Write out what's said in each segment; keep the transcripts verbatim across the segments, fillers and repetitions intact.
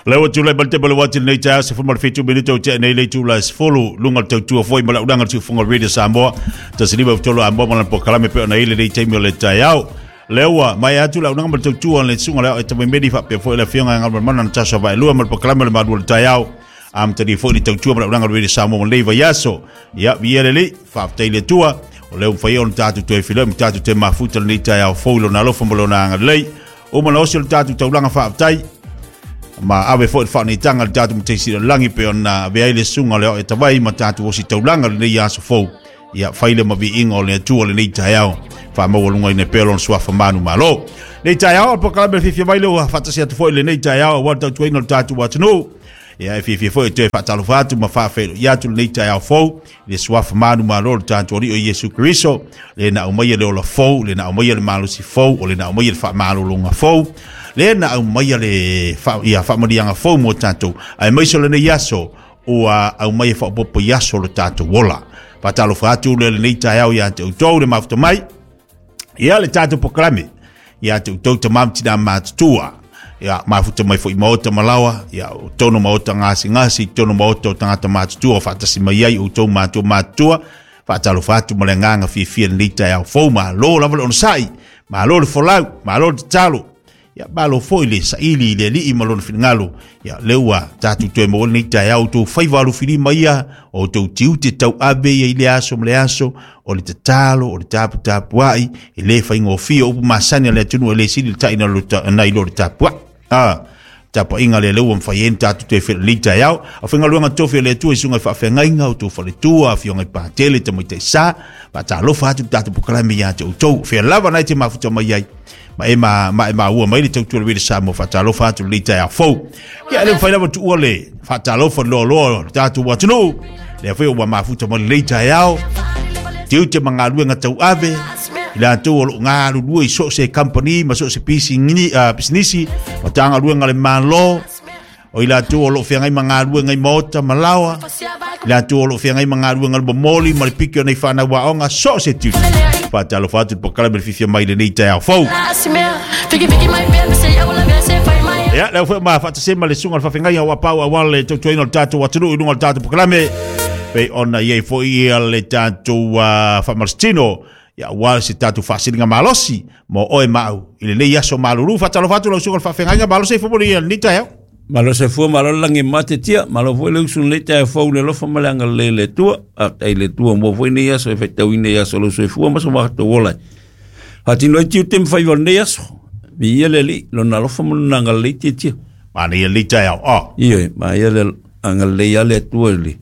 Lewa tula balte bale wati nei ta se fuma fitu minuto te nei le tula sefulu lunga tautua foi mala ulanga tu funga Radio Samoa ta siliva tolo ambo mala po kalame pe ona ile nei taimi o le taiao. Lewa mai atu la unanga tautua le sunga le ta medi fa pe foi le fionga ngal mana na tasa vai lua mal po kalame le madu le taiao. Am tadi foi ni tautua mala ulanga Radio Samoa le vaiaso. Ia viele le fa te tua o leo fai on tatu te filo tatu te mafuta nei taiao fo lo na lo fo lo na ngalei. O mana osi o le tatu taulanga faafetai ma ave foi faanitanga le tatu mateisi o langi pe ona vea le sunga le o e tawai ma tatu osi taulanga le nei aso fou. Ia faile ma viinga o le atua le nei taiao faamaualuga ina pea lona suafa manu malo. Nei taiao o pokalame fiafia mai le ua faatasi atu foi le nei taiao aua le tautuaina o le tatou atunuu. Ia e fiafia foi e toe faatalofa atu ma faafeiloai atu lenei taeao fou i le suafa manu malo le tatou Alii o Iesu Keriso, le na aumaia le ola fou, le na aumaia le malosi fou, o le na aumaia le faamalologa fou, le na aumaia le fa, ia faamaliaga fou mo tatou. Ae maise o lenei aso ua aumaia faaopoopo i aso o le tatou ola. Faatalofa atu le lenei taeao ia te outou le mafuta mai ia le tatou pokalame ia te outou tamā ma tinā matutua. Ia mafuta mai foi maota malawa ia o tono maota ngasi ngasi tono maota o tangata matutua faatasi mai ai outou matua matutua. Faatalofa atu ma le agaga fiafia lenei taeao fou. Malo lava le onosai, malo le folau, malo le tatalo, ia malo foi le saili i le alii ma lona finagalo. Ia lea ua tatou toe maua lenei taeao outou faiva alofilima ia o outou tiute tauave ia i le aso ma le aso o le tatalo o le taputapuai e lē faigofie upu masani a le atunuu e lē sili le taʻina nai lo le tapuai. Ah, tapuaiga le lea ua mafai ai ona tatou toe felelei taeao. A faigaluega tofi o le Atua i suga i faafeagaiga outou faletua afioga i patele tamaitaisā. Faatalofa atu le tatou pokalame ia te outou fea lava nai te mafuta mai ai ma e ma ma e maua mai le tautua le Samoa. Faatalofa atu lenei taeao fou. Ia le mafai lava tuua le faatalofa loaloa le tatou atunuu lea foi ua mafuta mai lenei taeao tiute ma galuega tauave i latou o loo galulue i so o se company ma so o se pisinisi ma tagaluega le malo o i latou o loo feagai ma galuega i maota ma laoa i latou o loo feagai ma galuega le momoli ma le piki o nei fanau aoga so o se tiute. Faatalofa atu le pokalame le fiafia mai lenei taeao fou. Ia lea foi ma faatasema le suga o le faafegaia ua pau aua le tautuaina o le tatou atunuu i luga o le tatou pokalame pe ona iai foi ia le tatou uh, faamalositino ia aua se tatou faasiliga malosi mo oe maau i lenei aso malulu. Faatalofa atu lau suga o le faafegaiga malosi ai fomoli ia lenei taeao. Malo se fua malo langi mate tia malo foi le usu nei tae fou le lofa ma le agalelei le Atua. Faafetai le Atua mo foi nei aso e faitauina i aso o lou soifua ma so matou ola ai. Faatino ai tiute ma faiva o lenei aso. Viia le Alii lona alofa ma lona agalelei tiatia. Manaia lenei taeao. Oh. Ioe, manaia le agalelei a le Atua i le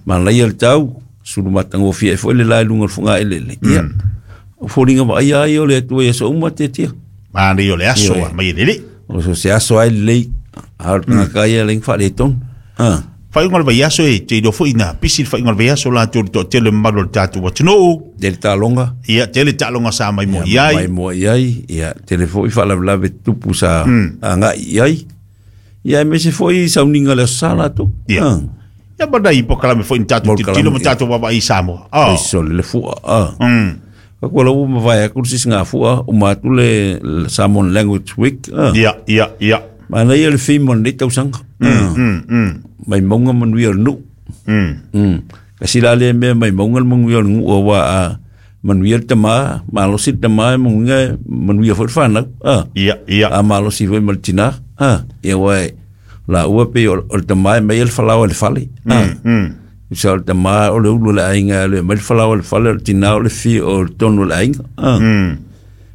manaia le tau sulumatagofie ai foi le la i luga o le fogaelele. Ia, o foliga vaaia ai o le Atua i aso uma tiatia. Manaia o le aso mai le alii. O so se aso ai lelei a o le tagata ia le faaletonu. Ah. Faaiuga o le vaiaso e te iloa foi na pisi le faaiuga o le vaiaso latou le toatele mamalu o le tatou atunuu. Tele taaloga. Ia, tele taaloga sa maimoa i ai. Maimoa i ai, ia, tele foi faalavelave tupu sa agai i ai. Ia, aemaise foi sauniga le aso sa latou. Ia. Ia ma nai pokalame foi ni tatou tilotilo ma tatou vaavaai i Samoa. Oh. Aiso le fua. Ah. Mm. Ka kua lau mavae atu le sisi gafua uma atu le Samoan Language Week. Ah. Ia, ia, ia. Manaia le theme o lenei tausaga. Mm, mm, mm. Mai mauga manuia o le nuu. Mm. Mm. Kasi la le mea mai mauga le manuia o le nuu aua a manuia le tamā, malosi le tamā manuia, manuia foi le whanau. Ah. Ia, ia. A malosi foi ma le tinā. Ah. Ia ua e, la ua pe o le tamā e mai le falaoa i le fale. Ah. Mm, mm. Sa o le tamā o le ulu o le aiga le mai le falaoa i le fale, o le tinā o le fi o le tonu o le aiga. Ah. Mm.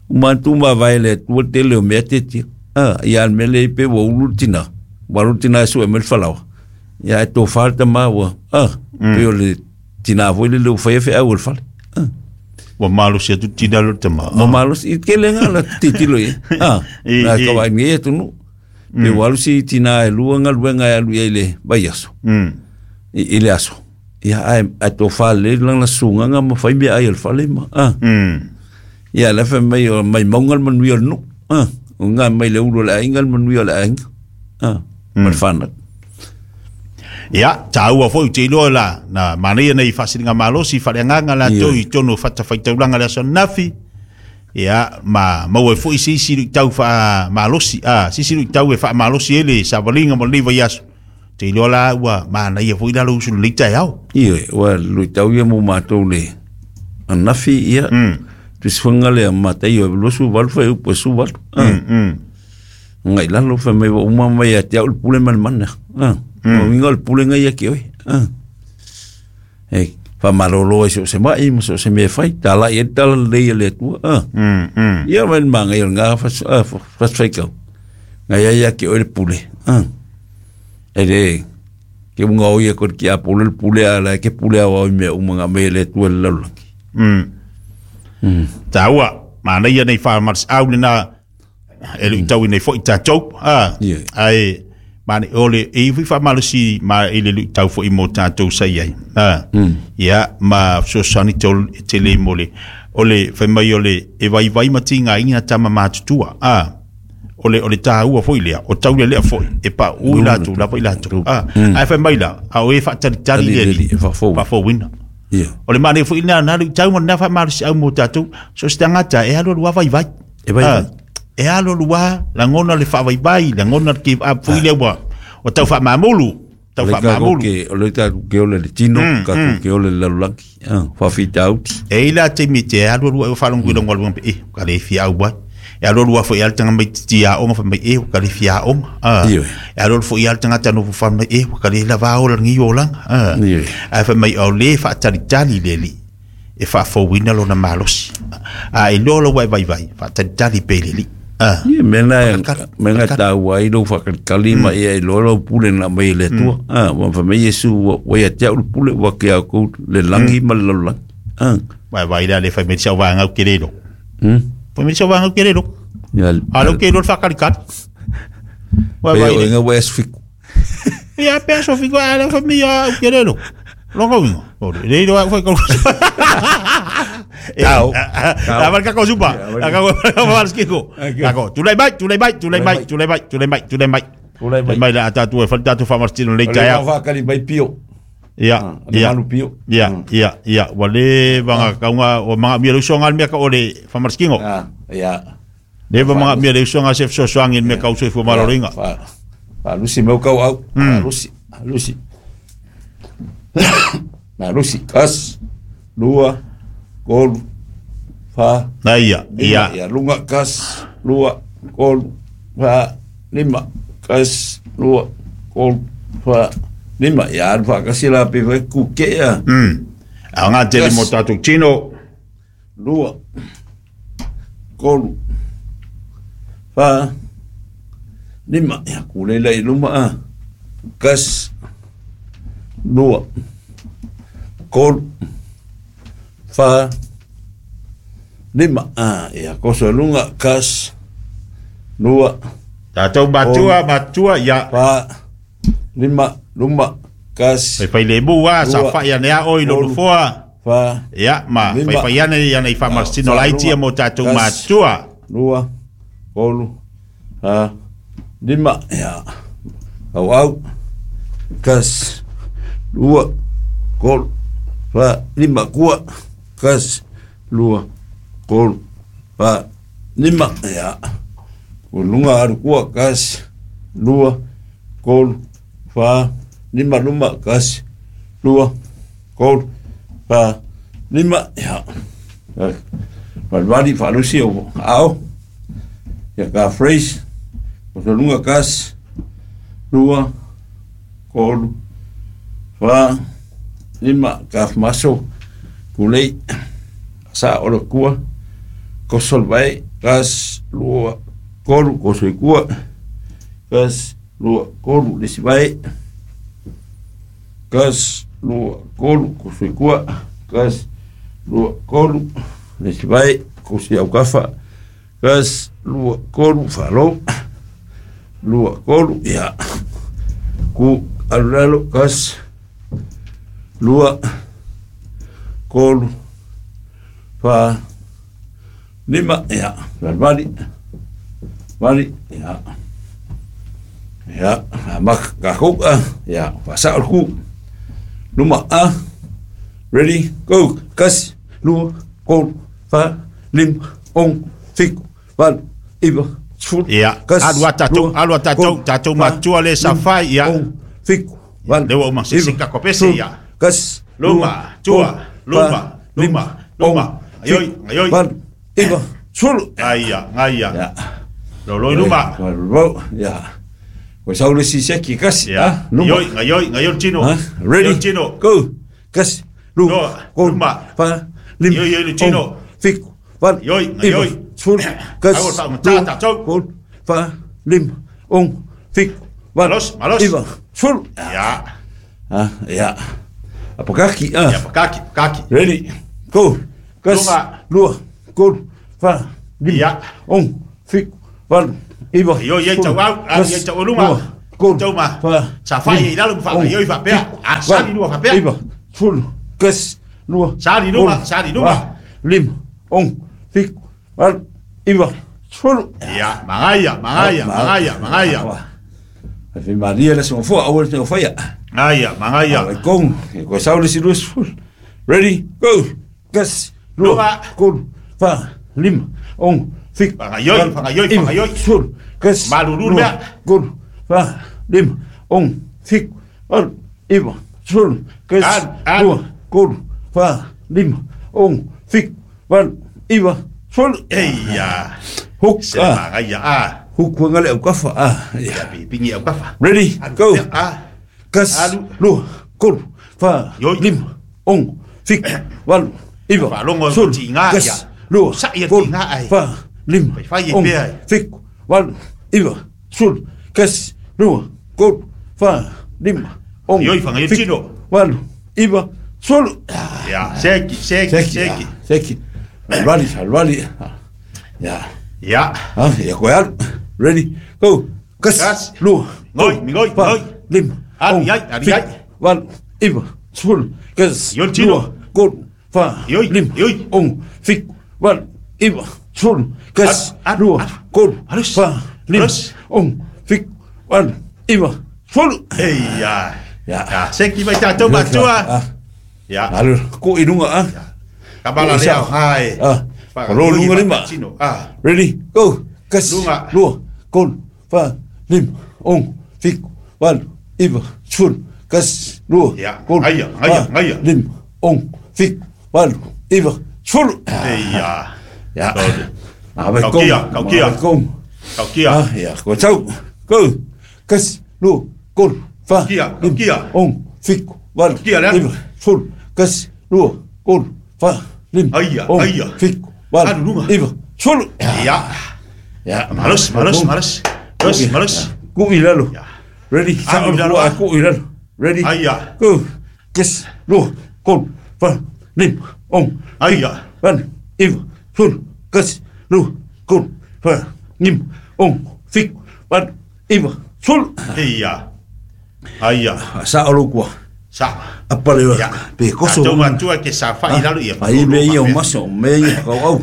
Uma atu mavae le Atua tele o mea tiatia. Ah, ia le mele i pe ua ulu le tinā. Ua alu le tinā e sue mai le falaoa. Ia e tōwha le tamā ua. Ah, Mm. pe o le tinā foi le leo whaia wheau o le fale. Ah. Ua malosi atu tinā le tamā. Ua malosi, i kele ngā la titilo i. Ah, I, nā i. kawa ngi e tunu. Pe ua alu si tinā e lua ngā luenga e alu i le vai aso. Mm. I, i le aso. Ia ai, ai tōwha le langa sunganga ma whai mea ai o le fale ma. Ah. Mm. Ia le whai mai o mai maunga le manuia o le nuu. Ah. O ngā mai le ulu o le aiga le manuia o le aiga. Ah. Ma le whanau. Ia, tāua foi te iloa la, na manaia nei faasiliga malosi faaleagaga latou Ia. i tonu o fatafaitaulaga le aso anafi. Ia ma maua foi se isi luitau faamalosi a se isi luitau e faamalosi ai le savaliga mo lenei vaiaso. Te iloa la ua manaia foi la lou usu lenei taeao. Ioe, ua luitau ia mo matou le anafi ia. Tusifaga lea mataio e luasu valu fai upu e su valu. Ngai lalo fai mai ua uma mai ia te au le pule ma le mana. O uiga o le pulega ia ke oe. E faamalolo ai so o se mai ma so o se mea e fai. Talai ai le tala lelei a le Atua. Ia mai le magaia o lena fasifaitau. Ngai ai ia ke oe le pule. E le ke unga o ia ko le kiapolo le pule a la ke pule au au i mea uma nga mai e le Atua i le lalolagi. Taua, manaia nei faamalosiau lena e luitau nei foi tatou. A ai mane ole e foi faamalosi ma i le luitau foi mo tatou sa i ai. A ia ma fesoasoani tele mo le o le fai mai o le e vaivai ma tigaina tama matutua. A o le o le taua foi lea o tau le lea foi e paʻu i latou lava i latou. A ae fai mai la a o e faatalitali le alii e faafouina. O le manaia foi lena na luitau ma lena faamalosiau mo tatou so se tagata e alu alu lava vaivai. E vaivai. E alu alu lava lagona le faavaivai, lagona le give up foi lea ua o tau faamamulu, tau faamamulu. O le tatou ke ole le tino, tatou ke ole le lalolagi, faafitauli. E i la taimi te alu alu ai o faalogo i lona galuega pe e ka le fia au ai. E alu alu foi ale tanga mai tia aoga fai mai e ka le fia aoga. E alu alu foi ale tagata nofo fai mai e ka le lava ola lenei olaga. Ae fai mai o le faatalitali le alii e faafouina lona malosi. A e iloa lau e vaivai, faatalitali pe i le alii. Ia mea na mea na taua ai lou faakalikali ma ia iloa lau pule na aumai e le Atua. Ua fai mai Iesu ua ia te au le pule ua ke au kou le lagi ma le lalolagi. Vai vai la le fai mai sau vangau ke le lo. Fai mai sau vangau ke le lo. A lo ke lo faakalikali. Vai vai. Pe o inga ua aso fiku. Ia pe aso fiku a le fai mai au ke le lo. Longa uiga. O le lo au fai kau. Tau. A marca ko supa. A ka ko marskiko. Ako, tulai mai, tulai mai, tulai mai, tulai mai, tulai mai, tulai mai. Tulai mai. Mai la tatu e fal tatu fa martino le taia. O le whakali mai pio. Ia, ia. Malu pio. Ia, ia, ia. Wale vanga kaunga o manga mia uso ngal mia ka ole fa marskingo. Ah, ia. Le va manga mia uso ngal sef so soangi mia ka uso fu maloringa. Fa. Fa lusi meu kau au. Lusi, lusi. Na lusi kas lua kolu fa na ia ia ia lunga kas lua kolu fa lima kas lua kolu fa lima ia alfa kasi la pe fa ku ke ia mm a nga tele mo tatu tino lua kolu fa lima ia ku le le luma a kas lua kolu fa lima a ia koso lunga kas lua tatou matua matua ia fa lima luma kas fai fai le bua sa fa ia nea oi lo foa fa ia ma fai fai ia ia nei fa martino laiti mo tatou matua lua kolu fa lima ia au au kas lua kolu fa lima kua kas lua kolu fa lima ia lunga aru kua kas lua kolu fa lima luma kas lua kolu fa lima ia valvali fa lusi o ao ia ka phrase o lunga kas lua kolu fa lima ka maso kulei sa o lo kua kosol vai kas lua kolu kosoi kua kas lua kolu lesi vai kas lua kolu kosoi kua kas lua kolu lesi vai kosoi aukafa kas lua kolu falo lua kolu ia ku alulalo kas lua kolu fa lima ia vali vali ia ia mak ka ku ia fa sa ku luma a ready go kas lua kolu fa lima ono, fitu, valu, iva, sefulu, Ia, tasi, alu a tatou, lua, alu a tatou, tolu, tatou fa, matua le lima, safai, ia. ono, fitu, valu, Lea ua uma, se iva, se kakopese, sefulu, ia. tasi, Luma, lua, tua, tolu, luma, fa, luma, lima, luma. ono, Aioi, fitu, aioi. valu, iva, sefulu. Aia, aia. Ia. Lolo i luma. Lolo, ia. Ko sau le si seki kasi, Ia. ah, luma. Ioi, ngaioi, ngaioi tino. Ah, ready? Ioi tino. Go. Kasi, lua, Lua, tolu, luma. fa, lima, Ioi, ioi, tino. ono, fitu, valu, Ioi, iva, ngaioi. sefulu, kasi, Aua, fa, lua, tatou. tolu, fa, lima, ono, fitu, valu, Malos, malos. iva, sefulu. Ia. Ah, ia. Apakaki, ah. Ia, pakaki, pakaki. Ready? Go. Kasi, Luma. lua, tolu, fa, lima, Ia. ono, fitu, valu, iva, Ioi, ioi, sefulu, tau au, ah, kasi, ioi, tau luma. lua, tolu, Tau ma. fa, Sa fai lima, i lalo ma fa, ono, ioi faapea. fitu, Ah, sali valu, lua faapea. iva, sefulu, kasi, lua, Sali luma, tolu, sali luma. fa, lima, ono, fitu, valu, iva, sefulu. Ia, magaia, magaia, magaia, magaia. Ai Maria le songo fua, aua le songo faia. Gaia, magaia. Ai kong, ko sau le silu sefulu. Ready, go. Kasi, lua, Luma. tolu, fa, lima, ono, fitu, Fagaioi, valu, fagaioi, iva, fagaioi. sefulu, kasi, Malulu lua, mea. tolu, fa, lima, ono, fitu, valu, iva, sefulu, kasi, Alu, alu. lua, tolu, fa, lima, ono, fitu, valu, iva, sefulu. Eia. Hook, Se ah, magaia, ah. hook wangale au kafa, ah, Ia, yeah. pipingi au kafa. Ready, Alu, go. Ah. Kasi, Alu. lua, tolu, fa, Ioi. lima, ono, fitu, valu, iva, Faalogo sefulu, tiga, kasi, ia. lua, Sa ia tolu, tiga ai. fa, lima, Fai fai e ono, pea ai. fitu, valu, iva, sefulu, kasi, lua, tolu, fa, lima, ono, Ioi, fagaioi fitu, tino. valu, iva, sefulu. Ia, seki, seki, Seki, seki. ah, seki. Aluali, aluali. Ah, ia. Ia. Ah, ia koe alu. Ready, go. Kasi, Kasi. lua, Ngoi, tolu, mingoi, fa, ngoi. lima, Alu, ono, iai, alu, fitu, iai. valu, iva, sefulu, kasi, Ioi, tino. lua, tolu, fa, Ioi, lima, ioi. ono, fitu, valu, iva, sefulu, kasi, Alu, alu, lua, alu. tolu, Alus. fa, lima, Alus. ono, fitu, valu, iva, sefulu. Eia. Ia. Ia, seki mai tatou matua. Ah, Ia. alu, ko i runga, ah. Kabala Ko i lea, sa. hai. Ah, Whakangoi lo lunga lima. whakatino, ah. Ready, go. Kasi, Lunga. lua, tolu, fa, lima, ono, fitu, valu, iva, sefulu, kasi, lua, Ia, tolu, ngaia, ngaia, fa, ngaia. lima, ono, fitu, valu, iva, sefulu. Eia. Ia. Tolu. Ah, vai Kaukia, kong, kaukia. vai kong. Kaukia. Ah, ia, ko tau. Go. Kasi, lua, tolu, fa, Kaukia, lima, kaukia. ono, fitu, valu, Kaukia, lea. iva, sefulu, kasi, lua, tolu, fa, lima, Aia, ono, aia. fitu, valu, Alu lunga. iva, sefulu. Ia. Ya, Malos, malos, malos. Malos, malos. Ku i lalo. Ya. Ready? Alu i lalo, ah, ah. Ku i lalo. Ready? Aia. Go. Yes. Lua, tolu, fa, lima, ono, Aia. valu, iva, sefulu, kasi, lua, tolu, fa, lima, ono, fitu, valu, iva, sefulu. Eia. Aia. Sa o kua. Sa. Apa le Ia. pe koso. Tatou matua ke sa fai lalo ia. Ai me ia o maso, me ia kau au.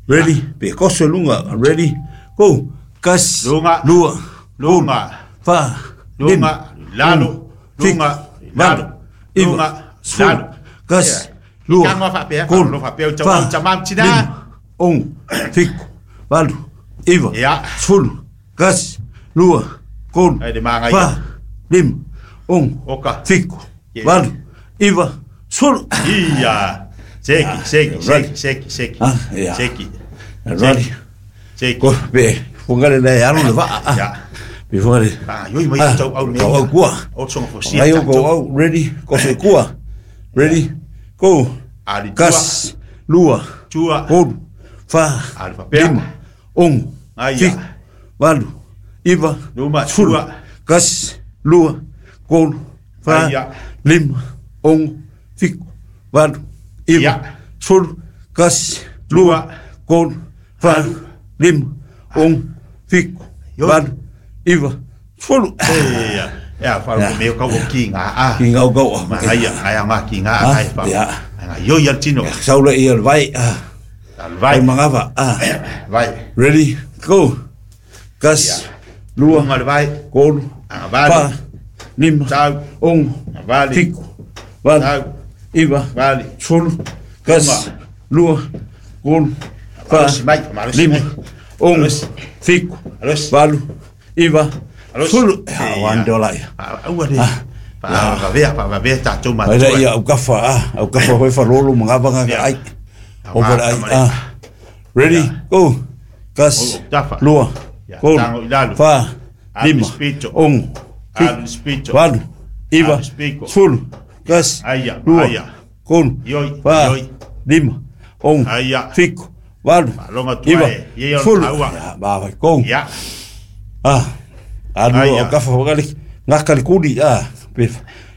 Ready? Pe koso lunga. Ready? Go. Kasi, Lunga. lua, Lunga. fa, Lunga, lima, lalo, ono, fitu, lunga, valu, lalo, iva, lunga, sefulu, lalo. kasi, Ia. lua, Ikanga faapea, tolu, faalogo faapea, o tau- fa, o tamam tina. lima, ono, fitu, valu, iva, Ia. sefulu, kasi, lua, tolu, Ai le magaia. fa, lima, ono, Oka. fitu, Ia. valu, iva, sefulu. Ia. Seki, seki, seki, seki, seki. Ah, ia. Seki. Ready? Seki. Ko pe fungale le alu le vaa. ah. Ia. Pe fungale. Ah, ioi mai Ah, tau au nei. Tau au kua. O tsonga fosia. Ai o go au ready ko se kua. Ready? Go. Ali tua. Kas lua Tua. tolu fa Ali faapea. lima ono Aia. fitu valu iva Luma, sefulu tua. kasi lua tolu fa Aia. lima ono fitu valu iva Ia. sefulu kasi lua tolu fa lima ono fitu Ioi. valu iva sefulu. Ia. Ia, faalogo me o kau o ki ngā a. Ki ngau kau. Magaia, ngaia ngā ki ngā Ah, ai fa. ia. Nga ioi al tino. Saula ia le vai ah. Al Vai vai. mangava ah. Vai. Ready, go. Kas, Ia. lua, Lunga le vai. tolu, Anga vali. fa, lima, Tau. ono, Vali. fitu, valu, Tau. iva, Vali. sefulu, kasi, lua, tolu, fa, Malosi mai, malosi lima, mai. ono, Malosi. fitu, Malosi. valu, iva, Malosi. sefulu. Ia, one dollar ia. Aua le. Faavavea, faavavea tatou Ai la matua. ia au kafa ah, au kafa hoi fa lolo mangava nga ai. Over ai ah. Ready, go. Kas, O, tafa. lua, Ia, tolu, tago i lalo. fa, Alu lima, spito. ono, Alu fitu, spito. valu, iva, Alu spiko. sefulu, kasi, Aia, lua, aia. tolu, Ioi, fa, ioi. lima, ono, Aia. fitu, valu, Faalogo atu iva, ai, ia ia o le sefulu. taua. Ia, ma vai kong. Ia. Ah, alu Aia. au kafa wakali, ngaka le kuli, ah, pe,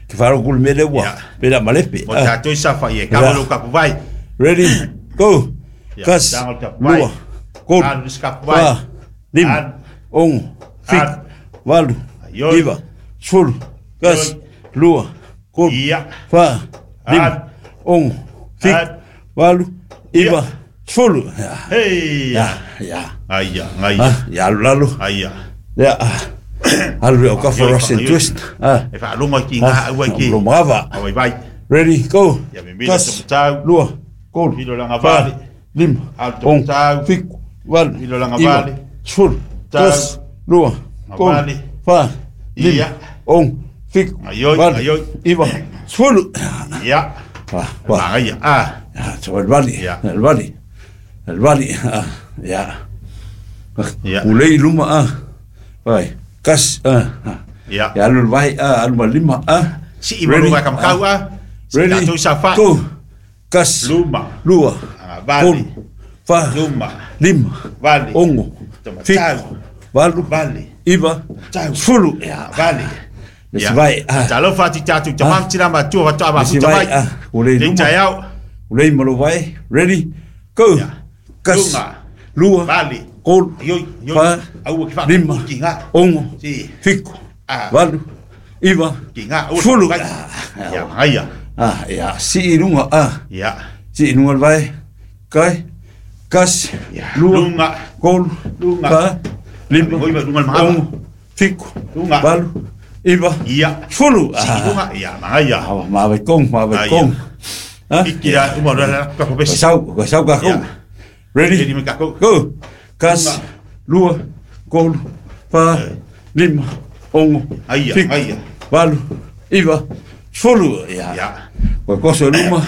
ke wharo kuli mele ua, Ia. pe la malepe. Mo Ah. tatou i safa i e kava Ia. lo kapuvai. Ready, go. Ia, Kasi, tago le kapuvai. lua, tolu, Alu le kapuvai. fa, lima, Alu. ono, fitu, Alu. valu, Ioi. iva, sefulu, kasi, Ioi. lua, tolu, Ia. fa, lima, Alu. ono, fitu, Alu. valu, iva, Ia. sefulu. Ia, Hei. ia, ia. Aia, aia. Ah, ia alu lalo. Aia. Ia, ah. Alu au kafa Ioi, Russian ioi. twist. Ah. E faalogo ai ki ngā aua ki. Lo mava. Awai vai. Ready, go. Ia mimila Kasi, tomatau. lua, tolu, Milo langa fa, vale. lima, Alu ono, tomatau. fitu, valu, Milo langa iva, vale. sefulu, Tau. kasi, lua, tolu, Vale. fa, lima, Ia. ono, fitu, Aioi, valu, aioi. iva, sefulu. Ia. Fa, fa. Magaia. Ah. Ah, so el vali, Ia. el vali, el vali, ah, ia. Ia. Ulei luma, ah, vai, kas, ah, ah. Ia. Ia alu le vai, ah, alu ma lima, ah. Si i malu Ready, vai kamakau ah. Si Ready, tatou i safa. go. Kas, Luma. lua, Ah, vale. tolu, fa, Luma. lima, Vale. ono, Tomatau. fitu, valu, Vale. iva, Tau. sefulu. Ia, Vale. le si vai, ah. Talofa atu i tatou tamam tina matua watoa Le si mafuta vai, mai. ah, ulei Lei luma. taeao. Ulei malo vai, ready, go. Ia. Kas, Lunga. lua, Vale. tolu, Ioi, ioi. fa, Aua ki wha- lima, ki ngā. ono, Si. fitu, Ah. valu, iva, Ki ngā. Aua sefulu. vai. Ah, Ia, magaia. ah, ia, si i lunga, ah. Ia. Si i lunga le vai, kai, kasi, Ia. lua, Lunga. tolu, Lunga. fa, lima, Ngoi ma lunga le mahava. ono, fitu, Lunga. valu, iva, Ia. sefulu. Si i Ah, lunga. Ia, magaia. ah, ma vai kong, ma vai Ah, ia. kong. Ah, Iki ia, uma roa la kako Ko pesi. sau, ko sau ka Ia. kou. Ready? Ready me kako. Go. Kasi, lua, tolu, fa, lima, ono, Aia, fitu, aia. valu, iva, sefulu. Ia. Ia. Ko koso luma.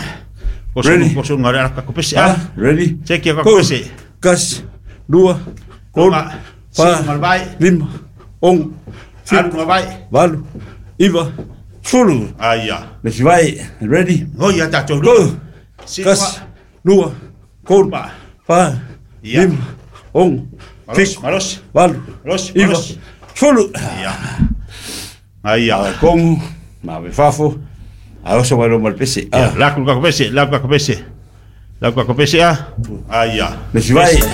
Koso Ready? koso ngā rea kako pesi. Ah, Ah. ready? Check ia kako Go. pesi. Kasi, lua, tolu, Lunga. fa, Si lunga le vai. lima, ono, Alu fitu, lunga vai. valu, iva, sefulu. Aia. Le si vai, ready? Ngoi ia tatou Go. lunga. Si Kasi, lua, tolu, Luma. fa, Ia. lima, ono, Malos, fitu, malos. valu, Malos, iva, malos. sefulu. Ia. Aia. Ave kongu, ma ave fafo, a oso vai loma le pese. Ia, Ah, laku kako pesi, laku kako pesi. Laku kako pesi ah. Aia. le si vai, ready?